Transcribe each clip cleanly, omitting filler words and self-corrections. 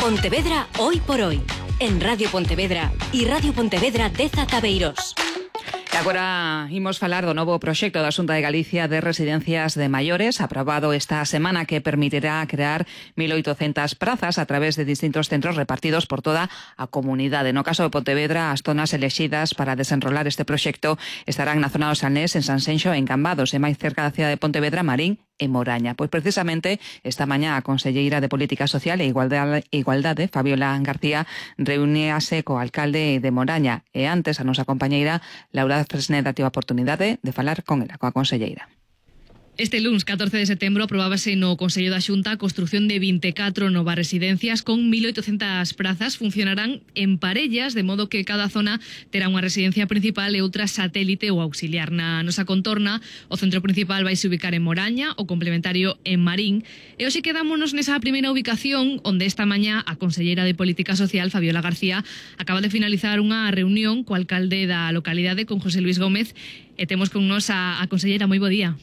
Pontevedra hoy por hoy, en Radio Pontevedra e Radio Pontevedra Deza Tabeiros. E agora imos falar do novo proxecto da Xunta de Galicia de residencias de maiores, aprobado esta semana, que permitirá crear 1.800 prazas a través de distintos centros repartidos por toda a comunidade. No caso de Pontevedra, as zonas elexidas para desenrolar este proxecto estarán na zona do Salnés, en Sanxenxo, en Cambados, e máis cerca da cidade de Pontevedra, Marín e Moraña. Pois precisamente esta mañá a conselleira de Política Social e Igualdade, Fabiola García, reuníase co alcalde de Moraña, e antes a nosa compañeira Laura Fresneda tive a oportunidade de falar con ela, coa conselleira. Este luns, 14 de setembro, aprobábase no Consello da Xunta a construción de 24 novas residencias con 1.800 prazas. Funcionarán en parellas, de modo que cada zona terá unha residencia principal e outra satélite ou auxiliar. Na nosa contorna, o centro principal vai se ubicar en Moraña, o complementario en Marín. E hoxe quedámonos nesa primeira ubicación, onde esta mañá a conselleira de Política Social, Fabiola García, acaba de finalizar unha reunión co alcalde da localidade, con José Luis Gómez, e temos con nos a conselleira. Moi bo día.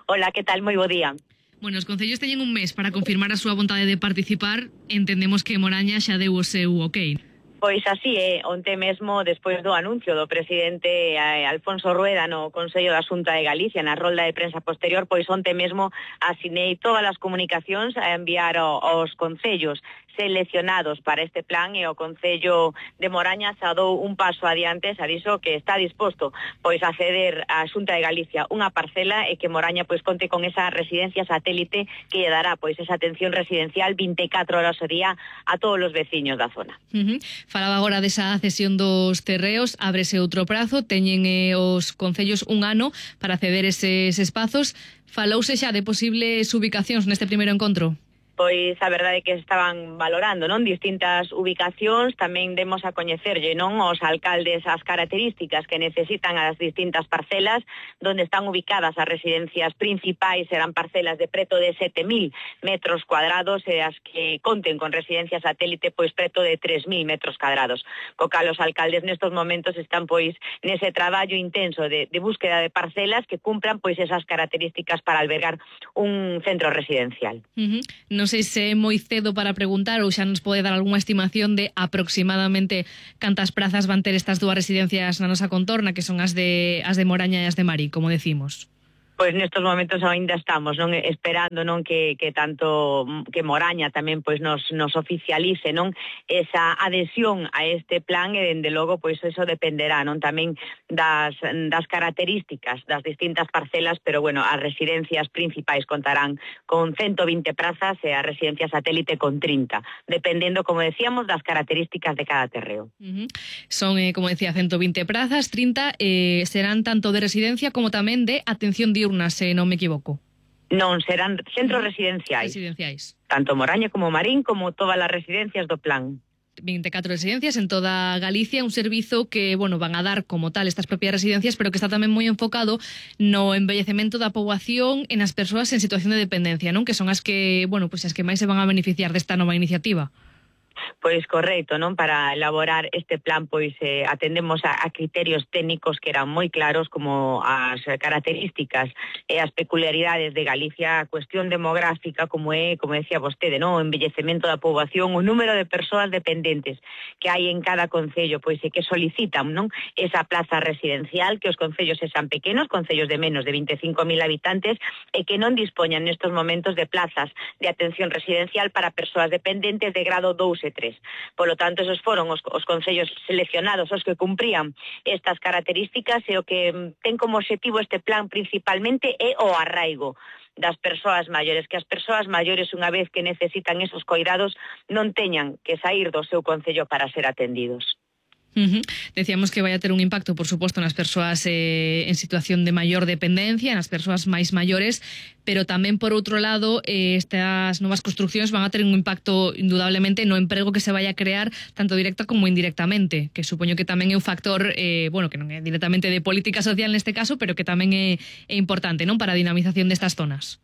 Hola, que tal? Moi bo día. Bueno, os concellos teñen un mes para confirmar a súa vontade de participar. Entendemos que Moraña xa deu o seu ok. Pois así é, onte mesmo, despois do anuncio do presidente Alfonso Rueda no Consello da Xunta de Galicia, na rolda de prensa posterior, pois onte mesmo asinei todas as comunicacións a enviar aos concellos seleccionados para este plan, e o Concello de Moraña xa dou un paso adiante, xa dixo que está disposto pois a ceder á Xunta de Galicia unha parcela, e que Moraña pois conte con esa residencia satélite que lle dará pois esa atención residencial 24 horas ao día a todos os veciños da zona. Falaba agora desa cesión dos terreos, ábrese outro prazo, teñen os concellos un ano para ceder eses espazos. Falouse xa de posibles ubicacións neste primeiro encontro? Pois a verdade é que estaban valorando, non, distintas ubicacións. Tamén demos a coñecerlle, non, os alcaldes as características que necesitan as distintas parcelas. Donde están ubicadas as residencias principais serán parcelas de preto de 7.000 metros cuadrados, e as que conten con residencia satélite pois preto de 3.000 metros cuadrados. Co cal os alcaldes nestos momentos están pois nese traballo intenso de búsqueda de parcelas que cumpran pois esas características para albergar un centro residencial. Non sei se é moi cedo para preguntar, ou xa nos pode dar algunha estimación de aproximadamente cantas prazas van ter estas dúas residencias na nosa contorna, que son as de Moraña e as de Marín, como decimos. Pois nestos momentos ainda estamos, non, esperando, non, que tanto que Moraña tamén pois nos oficialice, non, esa adhesión a este plan, e dende logo pois eso dependerá, non, tamén das características das distintas parcelas, pero bueno, as residencias principais contarán con 120 prazas e a residencia satélite con 30, dependendo, como decíamos, das características de cada terreo. Son, como decía, 120 prazas, 30 serán tanto de residencia como tamén de atención diurna, se non me equivoco. Non, serán centros residenciais. Tanto Moraña como Marín, como todas as residencias do plan. 24 residencias en toda Galicia, un servizo que, bueno, van a dar como tal estas propias residencias, pero que está tamén moi enfocado no envellecemento da poboación e nas persoas en situación de dependencia, non? Que son as que, bueno, pues as que máis se van a beneficiar desta nova iniciativa. Pois correcto, non? Para elaborar este plan pois atendemos a criterios técnicos que eran moi claros, como as características e as peculiaridades de Galicia, a cuestión demográfica, como é, como decía vostede, non, o envellecemento da poboación, o número de persoas dependentes que hai en cada concello, pois e que solicitan, non, esa plaza residencial, que os concellos sexan pequenos, concellos de menos de 25.000 habitantes, e que non dispoñan nestos momentos de plazas de atención residencial para persoas dependentes de grado 2 e 3. Polo tanto, esos foron os concellos seleccionados os que cumprían estas características, e o que ten como objetivo este plan principalmente é o arraigo das persoas maiores, que as persoas maiores, unha vez que necesitan esos coidados, non teñan que sair do seu concello para ser atendidos. Decíamos que vai a ter un impacto, por suposto, nas persoas en situación de maior dependencia, nas persoas máis maiores, pero tamén, por outro lado, estas novas construccións van a ter un impacto indudablemente no emprego que se vai a crear, tanto directa como indirectamente, que supoño que tamén é un factor, bueno, que non é directamente de política social neste caso, pero que tamén é importante, non, para a dinamización destas zonas.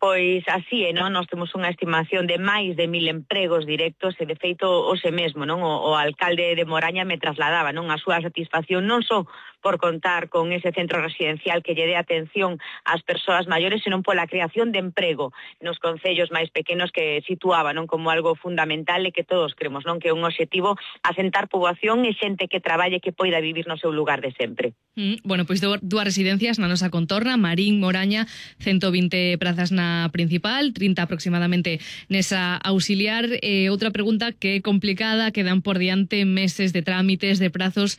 Pois así é, non? Nós temos unha estimación de máis de 1.000 empregos directos, e de feito hoxe mesmo, non, o alcalde de Moraña me trasladaba, non, a súa satisfacción non só por contar con ese centro residencial que lle dé atención ás persoas maiores, senón pola creación de emprego nos concellos máis pequenos que situaba non como algo fundamental e que todos cremos non que é un obxectivo asentar poboación e xente que traballe que poida vivir no seu lugar de sempre. Bueno, pois dúas residencias na nosa contorna, Marín, Moraña, 120 prazas na principal, 30 aproximadamente nesa auxiliar. Outra pregunta que é complicada, quedan por diante meses de trámites, de prazos.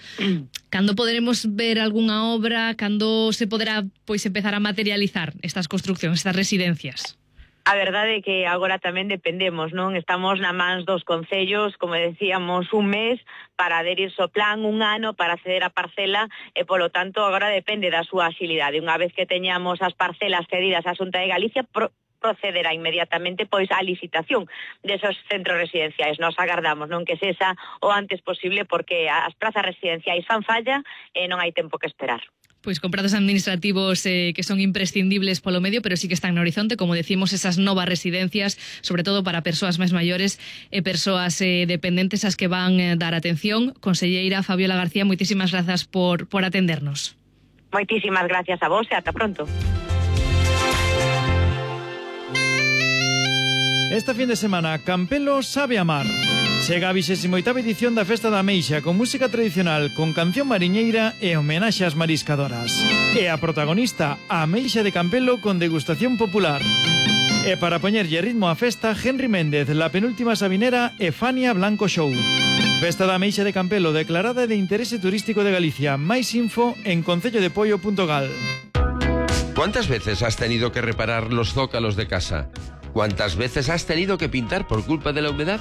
Cando poderemos ver algunha obra? Cando se poderá empezar a materializar estas construccións, estas residencias? A verdade é que agora tamén dependemos, non? Estamos na mans dos concellos, como decíamos, un mes para adherirse ao plan, un ano para acceder á parcela e, polo tanto, agora depende da súa axilidade. Unha vez que teñamos as parcelas cedidas á Xunta de Galicia, procederá inmediatamente pois á licitación desos centros residenciais. Nos agardamos non que sexa o antes posible porque as prazas residenciais fan falla e non hai tempo que esperar. Pois con prazos administrativos que son imprescindibles polo medio, pero sí que están no horizonte, como decimos, esas novas residencias, sobre todo para persoas máis maiores e persoas dependentes as que van dar atención. Conselleira Fabiola García, moitísimas grazas por atendernos. Moitísimas gracias a vos e ata pronto. Esta fin de semana, Campelo sabe amar. Chega a 28ª edición da Festa da Ameixa con música tradicional, con canción mariñeira e homenaxe ás mariscadoras. E a protagonista, a Ameixa de Campelo con degustación popular. E para poñerlle ritmo á festa, Henry Méndez, La Penúltima Sabinera e Fania Blanco Show. Festa da Ameixa de Campelo declarada de interese turístico de Galicia. Máis info en concellodepoio.gal. ¿Cuántas veces has tenido que reparar los zócalos de casa? ¿Cuántas veces has tenido que pintar por culpa de la humedad?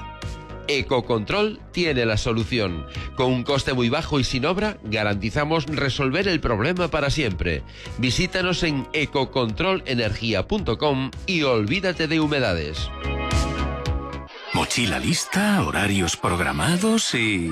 Ecocontrol tiene la solución. Con un coste muy bajo y sin obra, garantizamos resolver el problema para siempre. Visítanos en ecocontrolenergia.com y olvídate de humedades. Mochila lista, horarios programados y...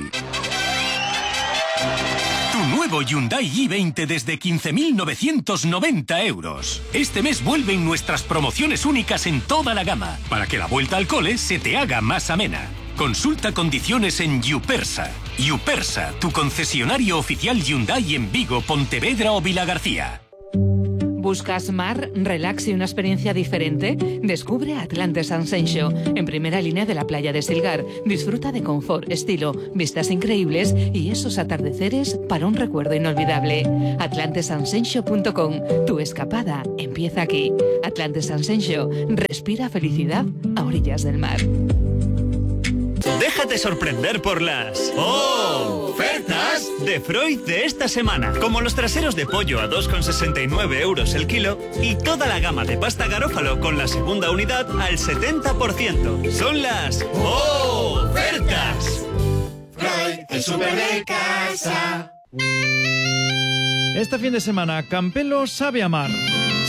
Tu nuevo Hyundai i20 desde 15.990 euros. Este mes vuelven nuestras promociones únicas en toda la gama, para que la vuelta al cole se te haga más amena. Consulta condiciones en Yupersa. Yupersa, tu concesionario oficial Hyundai en Vigo, Pontevedra o Vilagarcía. ¿Buscas mar, relax y una experiencia diferente? Descubre Atlantes Ascension, en primera línea de la playa de Silgar. Disfruta de confort, estilo, vistas increíbles y esos atardeceres para un recuerdo inolvidable. AtlantesAscension.com. Tu escapada empieza aquí. Atlantes Ascension. Respira felicidad a orillas del mar. Déjate sorprender por las ofertas de Freud de esta semana. Como los traseros de pollo a 2,69 euros el kilo y toda la gama de pasta garófalo con la segunda unidad al 70%. Son las ofertas. Freud, el súper de casa. Esta fin de semana, Campelo sabe amar.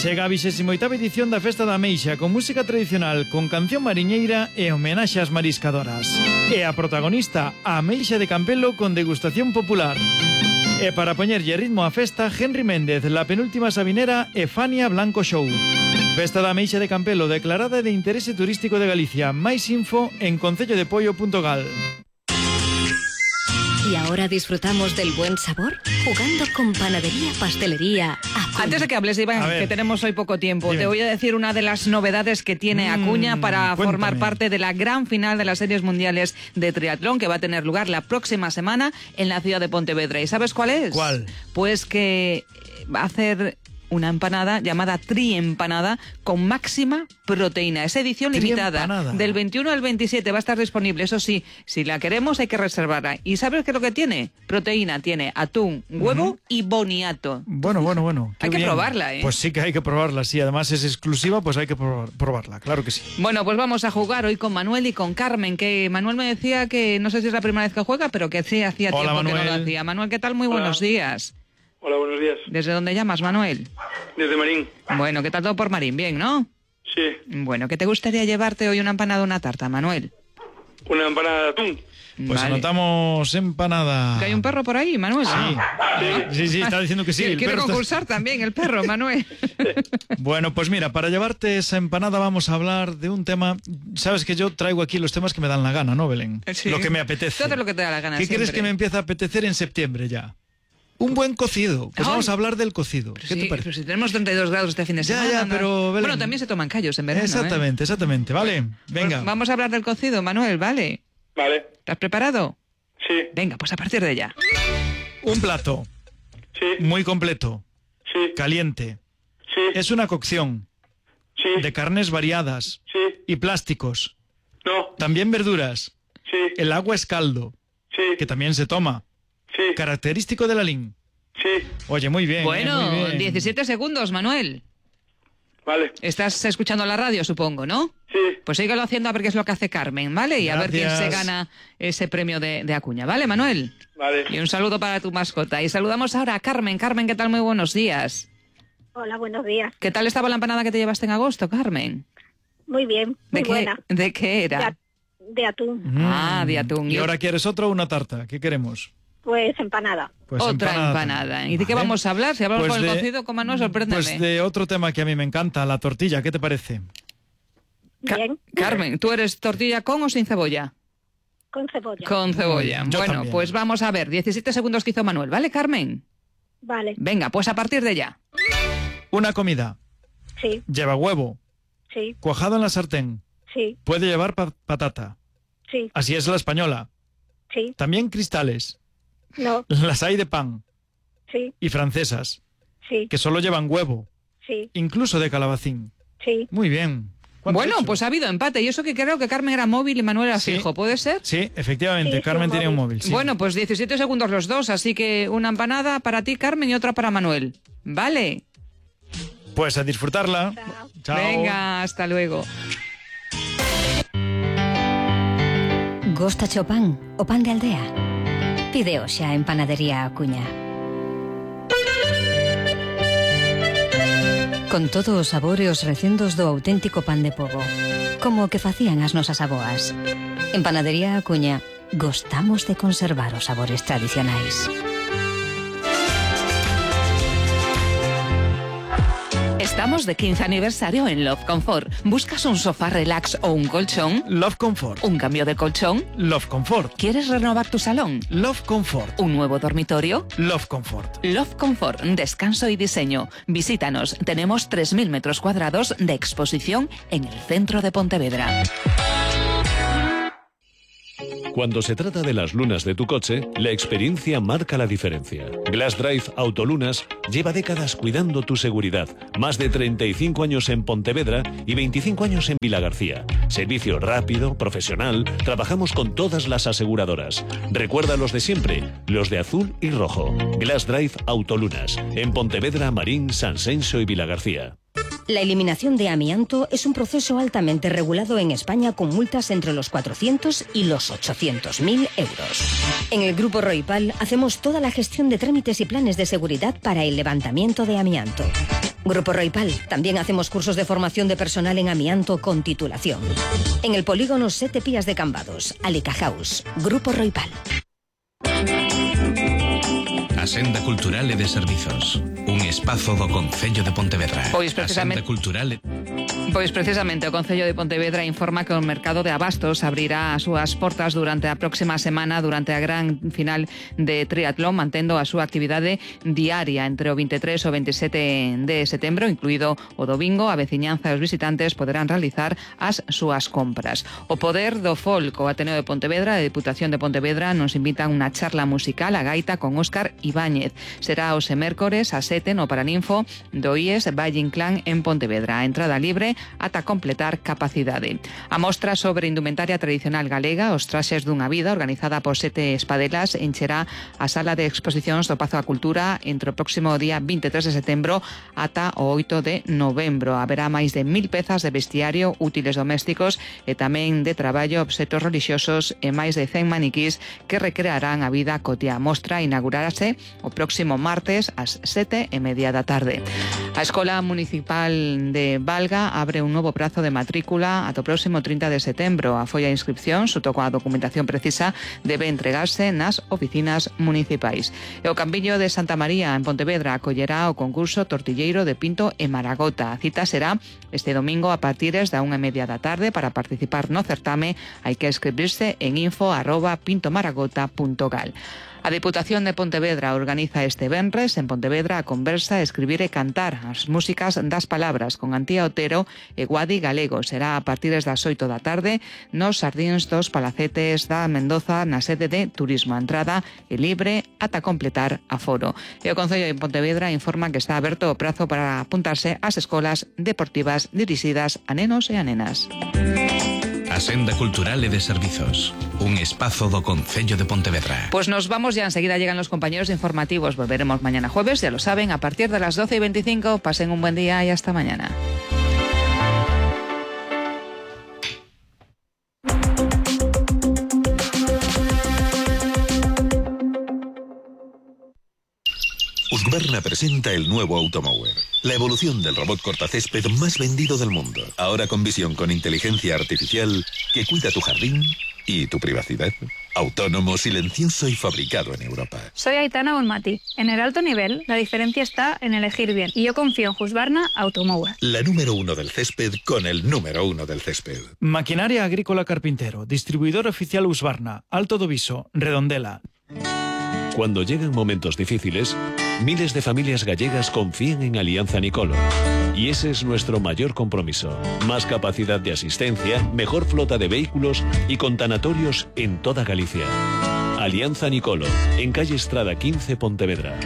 Chega a 28ª edición da Festa da Ameixa con música tradicional, con canción mariñeira e homenaxe ás mariscadoras. E a protagonista, a Ameixa de Campelo con degustación popular. E para poñerlle ritmo á festa, Henry Méndez, La Penúltima Sabinera e Fania Blanco Show. Festa da Ameixa de Campelo declarada de interese turístico de Galicia. Máis info en concellodepoio.gal. Y ahora disfrutamos del buen sabor jugando con Panadería Pastelería Acuña. Antes de que hables, Iván, que tenemos hoy poco tiempo, Dime. Te voy a decir una de las novedades que tiene Acuña para formar parte de la gran final de las series mundiales de triatlón que va a tener lugar la próxima semana en la ciudad de Pontevedra. ¿Y sabes cuál es? ¿Cuál? Pues que va a hacer una empanada llamada triempanada con máxima proteína. Es edición limitada. Del 21 al 27 va a estar disponible. Eso sí, si la queremos hay que reservarla. ¿Y sabes qué es lo que tiene? Proteína. Tiene atún, huevo y boniato. Bueno. Hay que probarla, ¿eh? Pues sí que hay que probarla, sí. Además es exclusiva, pues hay que probarla. Claro que sí. Bueno, pues vamos a jugar hoy con Manuel y con Carmen, que Manuel me decía que no sé si es la primera vez que juega, pero que sí hacía tiempo Manuel. Que no lo hacía. Manuel, ¿qué tal? Muy buenos días. Hola, buenos días. ¿Desde dónde llamas, Manuel? Desde Marín. Bueno, ¿qué tal todo por Marín? Bien, ¿no? Sí. Bueno, ¿qué te gustaría llevarte hoy, una empanada o una tarta, Manuel? Una empanada de atún. Pues anotamos empanada. ¿Que hay un perro por ahí, Manuel? Sí, está diciendo que sí. Quiere concursar también el perro, Manuel. Bueno, pues mira, para llevarte esa empanada vamos a hablar de un tema. Sabes que yo traigo aquí los temas que me dan la gana, ¿no, Belén? Sí. Lo que me apetece. Todo lo que te da la gana. ¿Qué siempre. crees que me empieza a apetecer en septiembre ya? Un buen cocido. Pues vamos a hablar del cocido. ¿Qué te parece? Pero si tenemos 32 grados este fin de semana. Ya, pero... Bueno, también se toman callos en verano. Exactamente. Vale, venga. Pues vamos a hablar del cocido, Manuel, ¿vale? Vale. ¿Estás preparado? Sí. Venga, pues a partir de ya. Un plato. Sí. Muy completo. Sí. Caliente. Sí. Es una cocción. Sí. De carnes variadas. Sí. Y plásticos. No. También verduras. Sí. El agua es caldo. Sí. Que también se toma. Sí. Característico de la LIN. Sí. Oye, muy bien. Bueno, muy bien. 17 segundos, Manuel. Vale. Estás escuchando la radio, supongo, ¿no? Sí. Pues síguelo haciendo a ver qué es lo que hace Carmen, ¿vale? Y a ver quién se Gracias. gana ese premio de Acuña, ¿vale, Manuel? Vale. Y un saludo para tu mascota. Y saludamos ahora a Carmen. Carmen, ¿qué tal? Muy buenos días. Hola, buenos días. ¿Qué tal estaba la empanada que te llevaste en agosto, Carmen? Muy bien, muy buena. ¿De qué era? De atún. Ah, de atún. ¿Y ahora quieres otra o una tarta? ¿Qué queremos? Pues empanada. Pues otra empanada. ¿Y de qué Vale. vamos a hablar? Si hablamos Pues con el de- cocido, con Manuel, sorpréndeme. Pues de otro tema que a mí me encanta, la tortilla. ¿Qué te parece? Bien. Carmen, ¿tú eres tortilla con o sin cebolla? Con cebolla. Con cebolla. Yo Bueno, también. pues vamos a ver. 17 segundos que hizo Manuel, ¿vale, Carmen? Vale. Venga, pues a partir de ya. Una comida. Sí, Lleva huevo. sí, Cuajado en la sartén. sí, Puede llevar patata. sí, Así es la española. sí. También cristales. No, Las hay de pan. sí, Y francesas. sí, Que solo llevan huevo. sí, Incluso de calabacín. sí. Muy bien. ¿Cuánto Bueno, has hecho? pues ha habido empate. Y eso que creo que Carmen era móvil y Manuel era Sí. fijo, ¿puede ser? Sí, efectivamente. Sí, Carmen sí, tiene un móvil. Sí. Bueno, pues 17 segundos los dos, así que una empanada para ti, Carmen, y otra para Manuel. ¿Vale? Pues a disfrutarla. Chao. Chao. Venga, hasta luego. Gosta o pan o pan de aldea? Pide xa en Panadería Acuña. Con todos os sabores e os recendos do auténtico pan de pobo, como o que facían as nosas aboas. En Panadería Acuña gostamos de conservar os sabores tradicionais. Estamos de 15 aniversario en Love Comfort. ¿Buscas un sofá relax o un colchón? Love Comfort. ¿Un cambio de colchón? Love Comfort. ¿Quieres renovar tu salón? Love Comfort. ¿Un nuevo dormitorio? Love Comfort. Love Comfort, descanso y diseño. Visítanos. Tenemos 3.000 metros cuadrados de exposición en el centro de Pontevedra. Cuando se trata de las lunas de tu coche, la experiencia marca la diferencia. Glass Drive Autolunas lleva décadas cuidando tu seguridad. Más de 35 años en Pontevedra y 25 años en Vilagarcía. Servicio rápido, profesional, trabajamos con todas las aseguradoras. Recuerda los de siempre, los de azul y rojo. Glass Drive Autolunas, en Pontevedra, Marín, Sanxenxo y Vilagarcía. La eliminación de amianto es un proceso altamente regulado en España con multas entre los 400 y los 800.000 euros. En el Grupo Roipal hacemos toda la gestión de trámites y planes de seguridad para el levantamiento de amianto. Grupo Roipal, también hacemos cursos de formación de personal en amianto con titulación. En el polígono Sete Pías de Cambados, Alica House, Grupo Roipal. A Senda Cultural e de Servizos, un espazo do Concello de Pontevedra. Pois precisamente- A Senda Cultural Pois precisamente o Concello de Pontevedra informa que o mercado de abastos abrirá as súas portas durante a próxima semana durante a gran final de triatlón, mantendo a súa actividade diaria entre o 23 e o 27 de setembro, incluído o domingo. A veciñanza e os visitantes poderán realizar as súas compras. O Poder do Folk, o Ateneo de Pontevedra e a Deputación de Pontevedra nos invitan a unha charla musical a gaita con Óscar Ibáñez. Será os mércores a 7 no Paraninfo do IES Valle Inclán en Pontevedra. A entrada libre ata completar capacidade. A mostra sobre indumentaria tradicional galega, os traxes dunha vida, organizada por 7 espadelas, encherá a sala de exposicións do Pazo da Cultura entre o próximo día 23 de setembro ata o 8 de novembro. Haberá máis de 1000 pezas de vestiario, útiles domésticos e tamén de traballo, obxetos relixiosos e máis de 100 maniquís que recrearán a vida cotiá. A mostra inaugurarase o próximo martes ás 7:30 da tarde. A Escola Municipal de Valga abre un novo prazo de matrícula ata o próximo 30 de setembro. A folla de inscripción, xuto coa documentación precisa, debe entregarse nas oficinas municipais. E o Campiño de Santa María, en Pontevedra, acollerá o concurso Tortilleiro de Pinto e Maragota. A cita será este domingo a partires da 1:30 da tarde. Para participar no certame hai que escribirse en info@pintomaragota.gal. A Diputación de Pontevedra organiza este venres en Pontevedra a conversa, escribir e cantar as músicas das palabras con Antía Otero e Guadi Galego. Será a partir das 8 da tarde nos Sardíns dos Palacetes da Mendoza na sede de Turismo. A entrada é libre ata completar aforo. E o Concello de Pontevedra informa que está aberto o prazo para apuntarse ás escolas deportivas dirixidas a nenos e a nenas. A Senda Cultural e de Servizos, un espazo do Concello de Pontevedra. Pues nos vamos, ya enseguida llegan los compañeros informativos. Volveremos mañana jueves, ya lo saben, a partir de las 12:25. Pasen un buen día y hasta mañana. Husqvarna presenta el nuevo Automower, la evolución del robot cortacésped más vendido del mundo. Ahora con visión con inteligencia artificial que cuida tu jardín y tu privacidad. Autónomo, silencioso y fabricado en Europa. Soy Aitana Bonmati. En el alto nivel, la diferencia está en elegir bien. Y yo confío en Husqvarna Automower. La número 1 del césped con el número 1 del césped. Maquinaria Agrícola Carpintero, distribuidor oficial Husqvarna, Alto do Viso, Redondela. Cuando llegan momentos difíciles, miles de familias gallegas confían en Alianza Nicolo. Y ese es nuestro mayor compromiso. Más capacidad de asistencia, mejor flota de vehículos y con tanatorios en toda Galicia. Alianza Nicolo, en calle Estrada 15, Pontevedra.